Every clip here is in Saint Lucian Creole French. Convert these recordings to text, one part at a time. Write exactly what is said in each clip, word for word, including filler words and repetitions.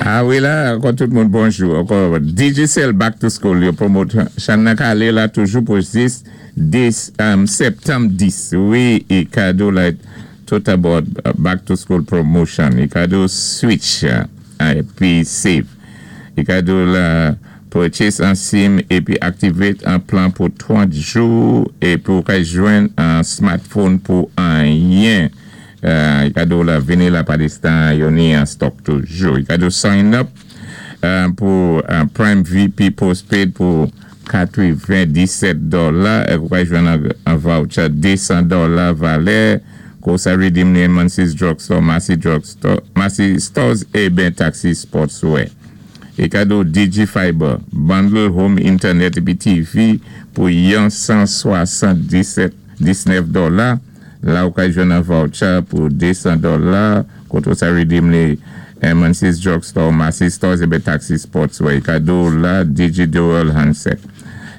A wi la, ankò tout moun bonjou. Ankò Digicel Back to School, yo promote chan nan ka alé la toujou pou jis dis, um, septanm dis. Wi, é kado la tout about Back to School promotion. É kado switch épi save. É kado la purchase an SIM épi activate an plan pou trant jou épi ou ka jwenn an smartphone pou anyen. Uh, i kado la vini la pa distan, yo ni an stock toujou. I kado sign up uh, pou uh, Prime V P postpaid pou katwenndisèt dola é ou ka jwenn an, an voucher de san dola valè kou sa redeem ni Macy's Drugstore, Massy Drugstore, Massy Stores é ben Taxi Sportswear. É kado DigiFiber, bundle home internet épi T V pou yon san swasanndinsèt disnèf dola. La ou ka jwenn an voucher pou de san dola koto sa redeem ni Macy's Drugstore, Massy Stores é ben Taxi Sportswear. É kado la Digi Dual Handset.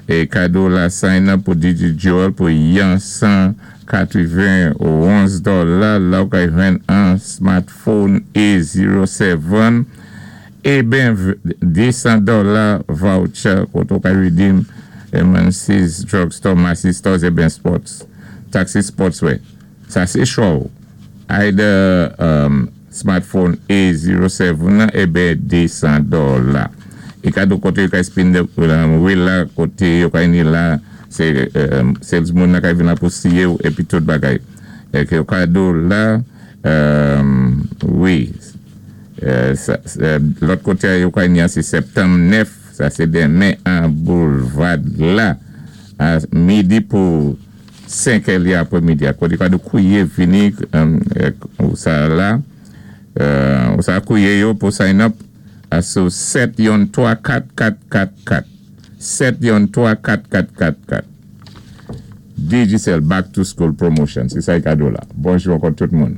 É kado la sign up pou Digi Dual pou yon san katrenwonz dola. La ou ka jwenn an smartphone A zéro sèt é ben de san dola voucher koto ka redeem Macy's Drugstore, Massy Stores é ben Sports, Taxi Sportswear. Sa sé chwa. Either um, smartphone A zéro sèt é ben de san dola. É kado koté yo ka spin the um, wheel la, koté yo ka ni la, sé um, salesman nan ka vin la pou siye ou épi tout bagay. É ké yo kado la, um, wi, euh, sa, sa, lòt koté yo ka ni an sé septanm nèf, sa sé denmen an Boulevard la, a midi pou senk è li apré midi. Koté kado kouwé vini um, ou sa la, euh, ou sa kouwé yo pou sign up a sou sèt yon twa kat kat kat kat. sèt yon twa kat kat kat kat. Digicel Back to School Promotion. Sé sa kado la. Bonjou ankò tout moun.